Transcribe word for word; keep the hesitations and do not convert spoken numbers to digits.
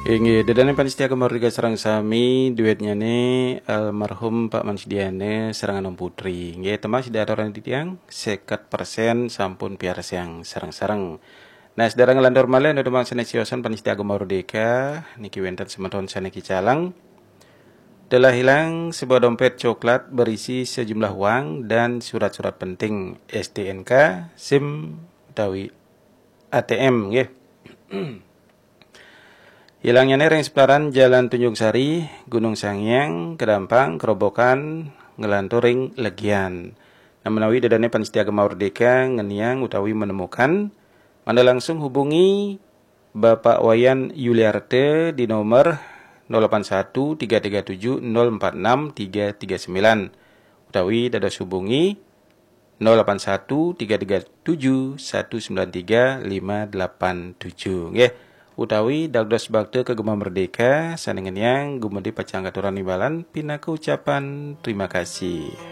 Inggih, ida dané pamiarsa Gema Merdeka sareng sami, duétnyané almarhum Pak Mansdiane sareng Anom Putri. Inggih, temas ida aturang titiang, seket persen sampun piarsayang sareng-sareng. Nah, sedaya nglantur malih nuju dumateng sané siosan pamiarsa Gema Merdeka, niki wénten semeton sané kicaleng. Telah hilang sebuah dompet coklat berisi sejumlah uang dan surat-surat penting, S T N K, SIM utawi A T M, nggih. Hilangnyané ring seputaran Jalan Tunjung Sari, Gunung Sangiang, Kedampang, Kerobokan, nglantur ring Legian. Nah, menawi ida dané pamiarsa Gema Merdeka ngeniang utawi menemukan, mangda langsung hubungi Bapak Wayan Yuliarte di nomor nol delapan satu tiga tiga tujuh nol empat enam tiga tiga sembilan, utawi dados hubungi nol delapan satu tiga tiga tujuh satu sembilan tiga lima delapan tujuh, nggih. Utawi dados bakta ka Gema Merdeka sané ngeniang, Gema Merdeka pacang ngaturang imbalan pinaka ucapan terima kasih.